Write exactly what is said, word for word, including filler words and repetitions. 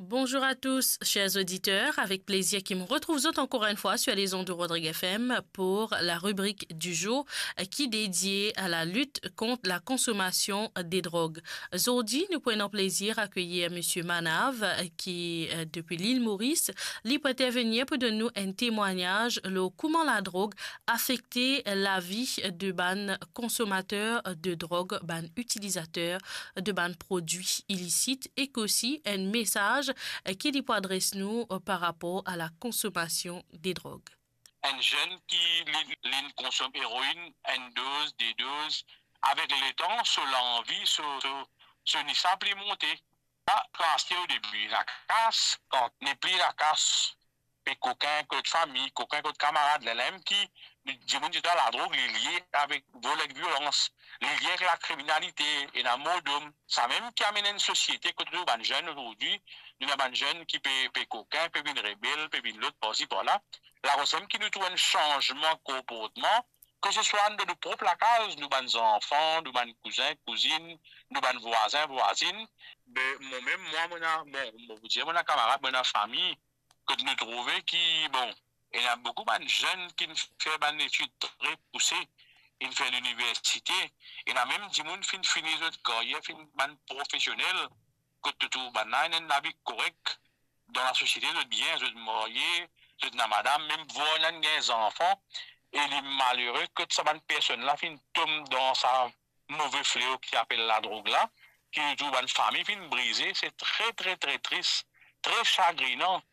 Bonjour à tous, chers auditeurs. Avec plaisir ki mo retrouv zot encore une fois sur les ondes de Rodrigue F M pour la rubrique du jour, euh, qui est dédiée à la lutte contre la consommation des drogues. Zordi, nou pou ena plezir akeyir Misie Manav, euh, ki, euh, depi Lil Moris, li pou intervenir pou donn nou enn temwagnaz lor kouma ladrog afekte lavi de bann konsomater de drog, bann itilizater de bann prodwi ilisit, ek osi enn mesaz, eh, ki li pou adres nou, eh, par rapor a la konsomasion de drog. Enn zenn ki li, li konsom eroin, enn doz, de doz, avek letan, so lanvi, so, so, so nisa pli monte. La, kan aste o debi, lakas, kan nepli lakas, pe kokin kot fami, kokin kot kamarad, lerla mem ki dimoun ti dan ladrog, li lie avek vol ek violans, li lie avek lakriminalite, ena mordom. Samem ki amenn enn sosiete kot nou bann zenn azordi, nou ena bann zenn ki pe, pe kokin, pe vinn rebel, pe vinn lot parsi parla. Lakoz mem ki nou trouv enn sanzman konportman, ke se swa dan nou prop lakaz, nou bann zanfan, nou bann kouzin, kouzinn, nou bann vwazin, vwazinn. Be, mo mem, mwa, mo ena, bon, mo pou dir, mo ena kamarad, mo ena fami, kot nou trouve ki, bon, ena boukou bann zenn ki'nn fer bann etid tre pouse, inn fer liniversite, ena mem dimoun finn fini zot karyer, finn bann profesionel, kot to trouv bannla ena enn lavi korek dan lasosiete, zot bien, zot marye, zot ena madam, mem vwar ena gagn zanfan, e li malere kot sa bann personn la finn tom dan sa move fleo ki apel ladrog la, ki nou trouv bann fami finn brize, se tre, tre, tre tris, tre sagrinan.